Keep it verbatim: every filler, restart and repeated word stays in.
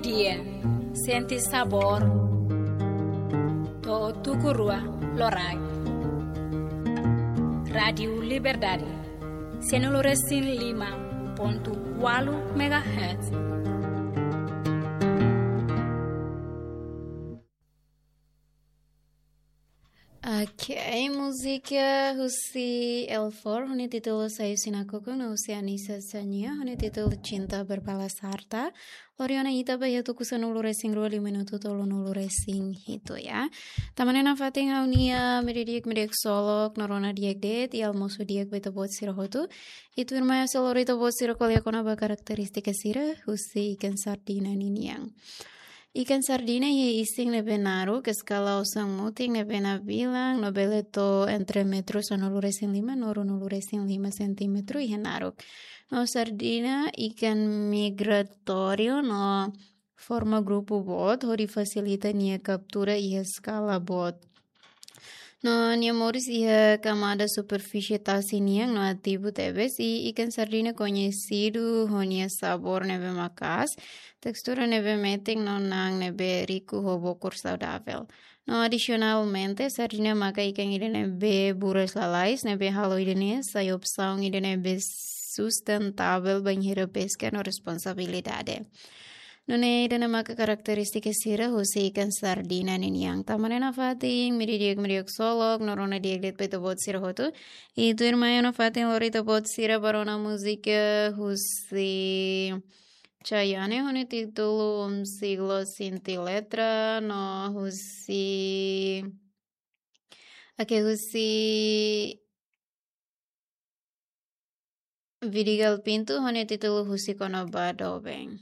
Dia, sente sabór. To'o tuku rua loraik. Rádiu Liberdade, sianulu resin lima pontu ualu megahertz. Ok, múzika husi L four, ho nia títulu Sai Husi Nakukun, no husi Anissa Sania, ho nia títulu Cinta Berbalas Harta. Lori ona ita ba iha tuku sanulu resin rua, liu minutu tolunulu resin hitu, ya. Tama ona nafatin ha'u-nia meiudia di'ak, meiudia di'ak ksolok, no rona di'ak de'it, i almosu di'ak ba ita-boot sira hotu. I tuirmai ha'u sei lori ita-boot sira ko'alia kona-ba karakterístika sira husi ikan sardina ninian. Ikan sardina iha isin ne'ebé naruk, eskala osan mutin ne'ebé nabilan, no bele to'o entre metru sanulu resin lima no ruanulu resin lima sentímetru iha naruk. No sardina ikan migratóriu no forma grupu boot, hodi fasilita nia kaptura iha eskala boot. No nia moris iha kamada superfísie tasi nian no ativu tebes, i ikan sardina koñesidu ho nia sabór ne'ebé maka'as, tekstura ne'ebé metin no na'an ne'ebé riku ho bokur saudavel. No adisionalmente, sardina maka ikan ida ne'ebé buras lalais, ne'ebé halo ida-ne'e sai opsaun ida ne'ebé sustentável bainhira peska no responsabilidade. Nune'e ida-ne'e maka karakterístika sira husi ikan sardina ninian. Tama ona nafatin, meiudia di'ak, meiudia di'ak ksolok, no rona di'ak de'it ba ita-boot sira hotu. I tuirmai ha'u nafatin lori ita-boot sira ba rona múzika husi Chayanne, ho nia títulu Um Siglo Sin Ti Letra, no husi, ok, husi Vidigal Pinto, ho nia títulu Husik Ona Ba Doben.